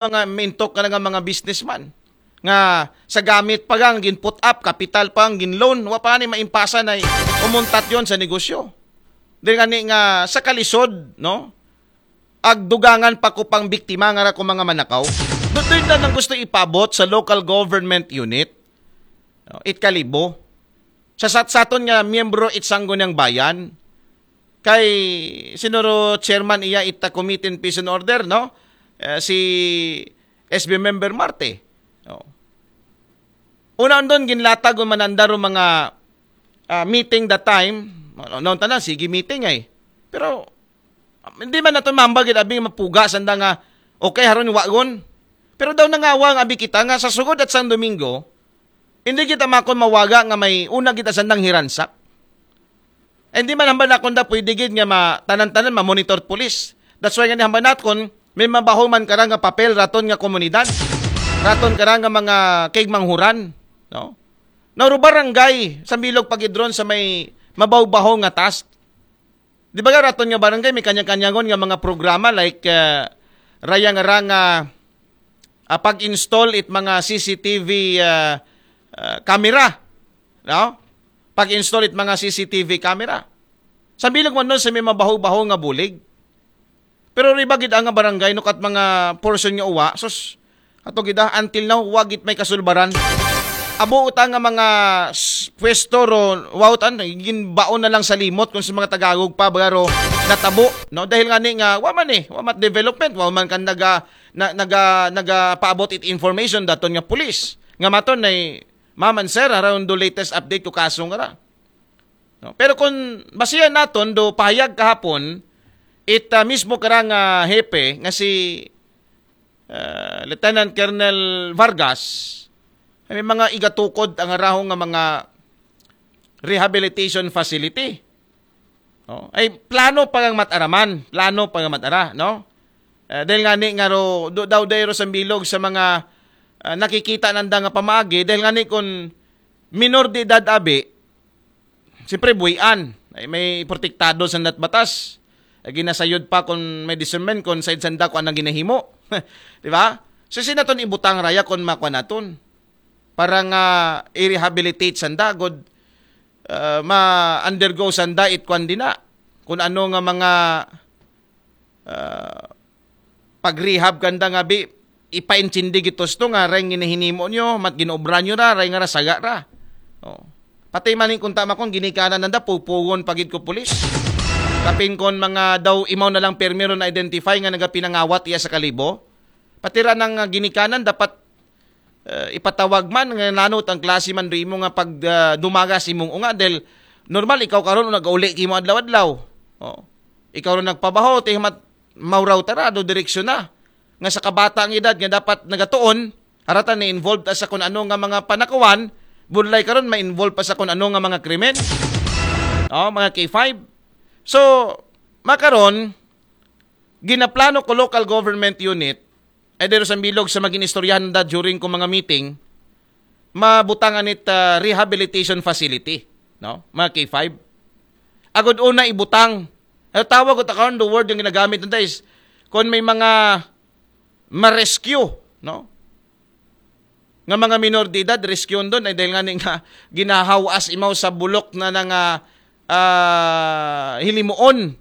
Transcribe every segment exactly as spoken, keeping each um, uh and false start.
mga mintok ka nga mga businessman nga sa gamit pa gang gin put up, kapital pa ang gin loan, wa pa ni maimpasa na umuntat yon sa negosyo. Dili gani nga sa kalisod, no? Agdugangan pa ko pang biktima nga ra ko mga manakaw. Doon na nang gusto ipabot sa local government unit. No? It Kalibo. Sa sat-, saton nga miyembro it Sangguniang Bayan, kay sinuro chairman iya ita committee in peace and order, no? Eh, si S B member Marte. No? Una doon, ginlatag o manandar o mga ah, meeting that time. Ano, ano tanan, sige meeting ay. Pero, ah, hindi man nato mambagid abing mapuga sanda nga, okay, haron wagon. Pero daw nangawa ang abi kita nga sa sugod at sang Domingo, hindi kita makon mawaga nga may una kita sandang hiransak. Hindi man hambal nakon da pwede gid nga ma-, tanan-tanan ma-monitor police. That's why nga hambal nakon, may mabaho man kara nga papel raton nga komunidad. Raton kara nga mga kaigmanghuran, no? Nauro barangay sa bilog pagidron sa may mabaw-baho nga task. Di ba nga raton nga barangay may kanya-kanyangon nga mga programa like uh, rayang-rang uh, ah, pag-install it mga C C T V ah, ah, camera, no? Pag-install it mga C C T V camera. Sa bilog man nun sa may mabaho-baho nga bulig. Pero riba gid ang nga barangay no kat mga portion nga uwa, sus, ato gid ah, until now wa gid may kasulbaran. Abo uta nga mga s- pwesto ro, wa uta, ginbaon na lang sa limot kung sa mga Tagalog pa bagaro natabo, no? Dahil nga ni nga wa man eh, wa mat development, wa man kan naga na, naga nagapaabot it information daton nga pulis. Nga maton ay maman sir around the latest update ko kaso nga ra. No? Pero kung basihan naton do pahayag kahapon, it ah, mismo karang ah, hepe nga si ah, Lieutenant Colonel Vargas, ay may mga igatukod ang araho nga mga rehabilitation facility. No? Ay plano pa ang mataraman, plano pa ang matara, no? Eh, dahil nga ni nga ro, do, daw dahil ro sa bilog sa mga ah, nakikita nanda nga pamaagi, dahil nga ni kung minor de edad abi, siyempre buhian, ay may protektado sa nat batas. Ay ginasayod pa kung may discernment kung side sanda ko anang ginahimo. Di ba? So sinaton ibutang raya kung makwa naton para nga i-rehabilitate sanda, good uh, ma-undergo sanda it kwan din na. Kung ano nga mga uh, pag-rehab kanda nga bi, ipaintindi gitos to nga reng ginahinimo nyo, mat ginobra nyo ra, reng nga ra saga ra. Oh. Pati maning kung tama kong ginikanan nanda, pupugon pagid ko pulis. Kapin kon mga daw imaw na lang permiro na identify nga nagapinangawat iya sa kalibo. Pati ra nang ah, ginikanan dapat uh, ipatawag man nga nanot ang klase man do imo nga pag uh, dumagas imong unga dahil normal ikaw karon nagauli kimo adlaw-adlaw. Oh. Ikaw ron nagpabaho ti mat mauraw tara do direksyon na nga sa kabata ang edad nga dapat nagatuon harata ni involved sa kun ano nga mga panakawan budlay karon ma-involve pa sa kun ano nga mga krimen. Oh, mga K five. So, makaron ginaplano ko local government unit ay dero sa bilog sa maging istoryahan da during ko mga meeting, mabutangan it uh, rehabilitation facility, no? Mga K five. Agod una ibutang. Ang tawag ko takaon, the word yung ginagamit nito is kung may mga ma-rescue, no? Nga mga minor de edad, rescue doon ay dahil nga ni nga ginahawas imaw sa bulok na nga uh, hilimuon.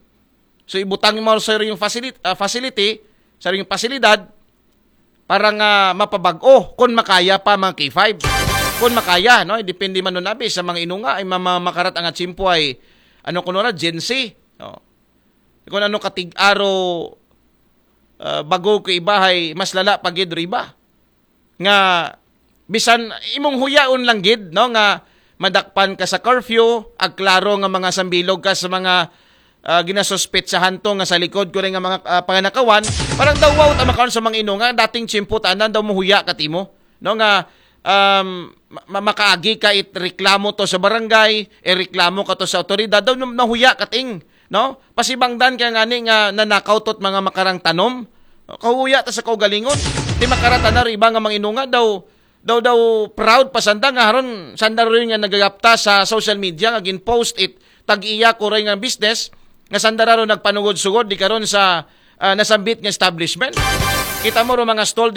So ibutang mo sa yung facility, uh, facility, sa yung pasilidad para nga mapabag-o kung makaya pa mga K five. Kung makaya, no? Depende man nun abi sa mga inunga ay mama makarat ang atsimpo ay ano kuno ra Gen Z. No? Kung ano katig-aro uh, bago ko ibahay mas lala pagid riba. Nga bisan imong huyaon lang gid no nga madakpan ka sa curfew, agklaro nga mga sambilog ka sa mga uh, ginasuspetsahan to nga sa likod ko nga mga uh, panganakawan, parang daw wow tama karon sa mga ino nga dating tsimpo tanan daw muhuya katimo no nga um, ma- makaagi ka it reklamo to sa barangay, e reklamo ka to sa otoridad daw nahuya kating no pasibangdan kaya ngani nga nanakaw tot mga makarang tanom. Kahuya ta sa kaugalingon. Ti makarata na iba nga mga inunga daw daw daw proud pa sanda nga haron sanda rin nga nagagapta sa social media nga gin-post it tag-iya ko rin nga business nga sanda rin nagpanugod-sugod di karon sa uh, nasambit nga establishment. Kita mo ro mga stall,